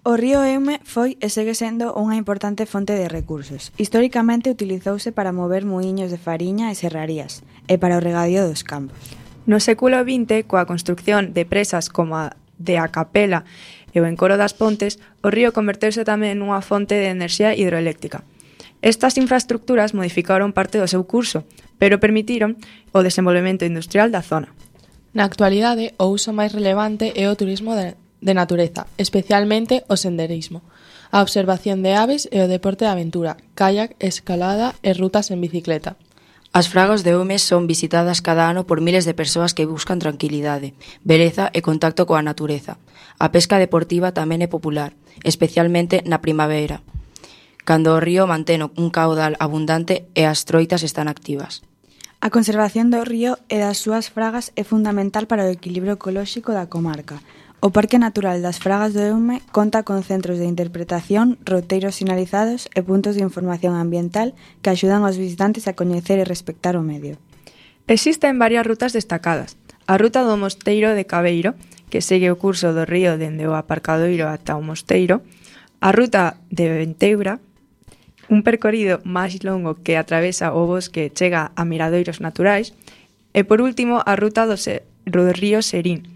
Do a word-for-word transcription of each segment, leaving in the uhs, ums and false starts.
O río Eume foi e segue sendo unha importante fonte de recursos. Históricamente utilizouse para mover muiños de fariña e serrarías, e para o regadío dos campos. No século vinte, coa construcción de presas como a de a Capela e o encoro das Pontes, o río converteuse tamén nunha fonte de enerxía hidroeléctrica. Estas infraestructuras modificaron parte do seu curso, pero permitiron o desenvolvemento industrial da zona. Na actualidade, o uso máis relevante é o turismo de de natureza, especialmente o senderismo, a observación de aves e o deporte de aventura, kayak, escalada e rutas en bicicleta. As fragas de Eume son visitadas cada ano por miles de persoas que buscan tranquilidade, beleza e contacto coa natureza. A pesca deportiva tamén é popular, especialmente na primavera, cando o río mantén un caudal abundante e as troitas están activas. A conservación do río e das súas fragas é fundamental para o equilibrio ecolóxico da comarca. O Parque Natural das Fragas do Eume conta con centros de interpretación, roteiros sinalizados e puntos de información ambiental que axudan aos visitantes a coñecer e respectar o medio. Existen varias rutas destacadas. A ruta do Mosteiro de Cabeiro, que segue o curso do río dende o aparcadoiro ata o mosteiro. A ruta de Venteura, un percorrido máis longo que atravesa o bosque e chega a miradoiros naturais. E por último, a ruta do, se- do río Serín,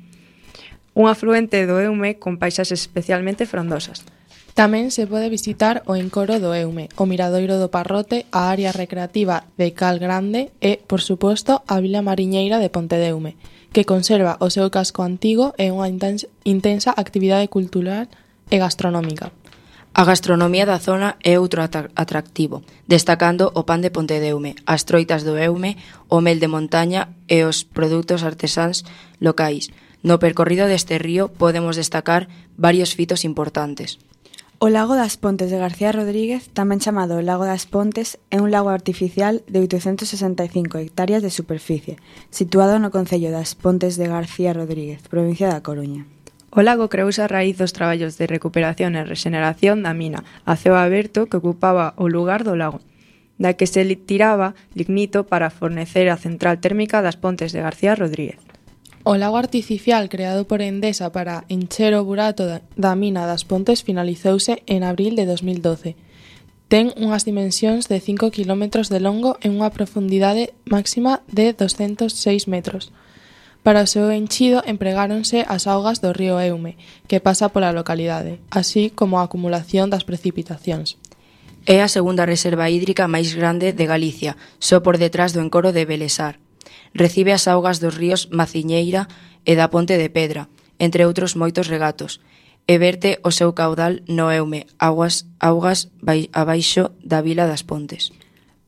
un afluente do Eume con paisaxes especialmente frondosas. Tamén se pode visitar o encoro do Eume, o miradoiro do Parrote, a área recreativa de Cal Grande e, por suposto, a Vila Mariñeira de Pontedeume, que conserva o seu casco antigo e unha intensa, intensa actividade cultural e gastronómica. A gastronomía da zona é outro atractivo, destacando o pan de Pontedeume, as troitas do Eume, o mel de montaña e os produtos artesáns locais. No percorrido deste río podemos destacar varios fitos importantes. O lago das Pontes de García Rodríguez, tamén chamado Lago das Pontes, é un lago artificial de oitocentos sesenta e cinco hectáreas de superficie, situado no concello das Pontes de García Rodríguez, provincia da Coruña. O lago creouse a raíz dos traballos de recuperación e rexeneración da mina a ceo aberto que ocupaba o lugar do lago, da que se tiraba lignito para fornecer a central térmica das Pontes de García Rodríguez. O lago artificial creado por Endesa para encher o burato da mina das Pontes finalizouse en abril de dos mil doce. Ten unhas dimensións de cinco quilómetros de longo e unha profundidade máxima de doscentos seis metros. Para o seu enchido empregáronse as augas do río Eume, que pasa pola localidade, así como a acumulación das precipitacións. É a segunda reserva hídrica máis grande de Galicia, só por detrás do encoro de Belesar. Recibe as augas dos ríos Maciñeira e da Ponte de Pedra, entre outros moitos regatos, e verte o seu caudal no Eume, augas, augas bai, abaixo da Vila das Pontes.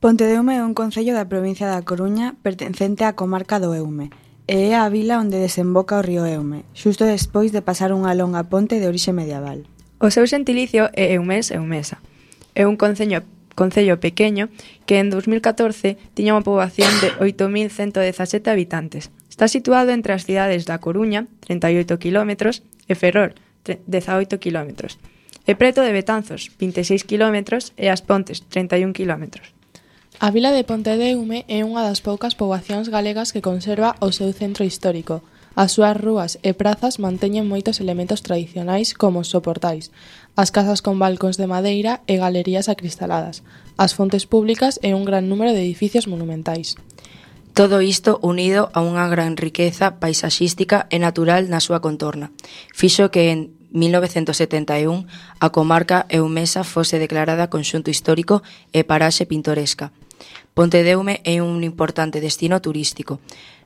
Pontedeume é un concello da provincia da Coruña pertencente á comarca do Eume, e é a vila onde desemboca o río Eume, xusto despois de pasar unha longa ponte de orixe medieval. O seu xentilicio é Eumés Eumesa. É un concello Concello pequeño que en dos mil catorce tiña unha poboación de oito mil cento dezasete habitantes. Está situado entre as cidades da Coruña, trinta e oito quilómetros, e Ferrol, dezaoito quilómetros. E preto de Betanzos, vinte e seis quilómetros, e As Pontes, trinta e un quilómetros. A vila de Pontedeume é unha das poucas poboacións galegas que conserva o seu centro histórico. As súas rúas e prazas manteñen moitos elementos tradicionais como os soportais, as casas con balcóns de madeira e galerías acristaladas, as fontes públicas e un gran número de edificios monumentais. Todo isto unido a unha gran riqueza paisaxística e natural na súa contorna. Fixo que en mil novecentos setenta e un a comarca eumesa fose declarada conxunto histórico e paraxe pintoresca. Pontedeume é un importante destino turístico.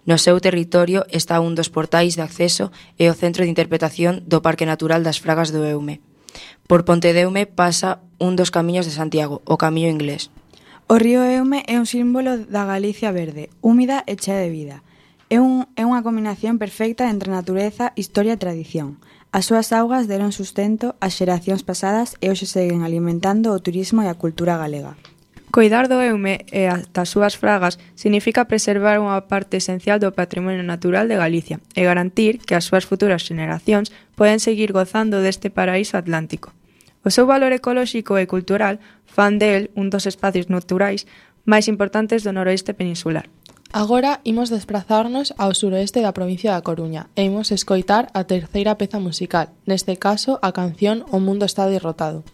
No seu territorio está un dos portais de acceso e o centro de interpretación do Parque Natural das Fragas do Eume. Por Pontedeume pasa un dos camiños de Santiago, o Camiño Inglés. O río Eume é un símbolo da Galicia verde, húmida e chea de vida. É, un, é unha combinación perfecta entre natureza, historia e tradición. As súas augas deron sustento ás xeracións pasadas e hoxe seguen alimentando o turismo e a cultura galega. Coidar do Eume e das súas fragas significa preservar unha parte esencial do patrimonio natural de Galicia e garantir que as súas futuras xeneracións poden seguir gozando deste paraíso atlántico. O seu valor ecolóxico e cultural fan del un dos espacios naturais máis importantes do noroeste peninsular. Agora imos desplazarnos ao suroeste da provincia da Coruña e imos escoitar a terceira peza musical, neste caso a canción O mundo está derrotado.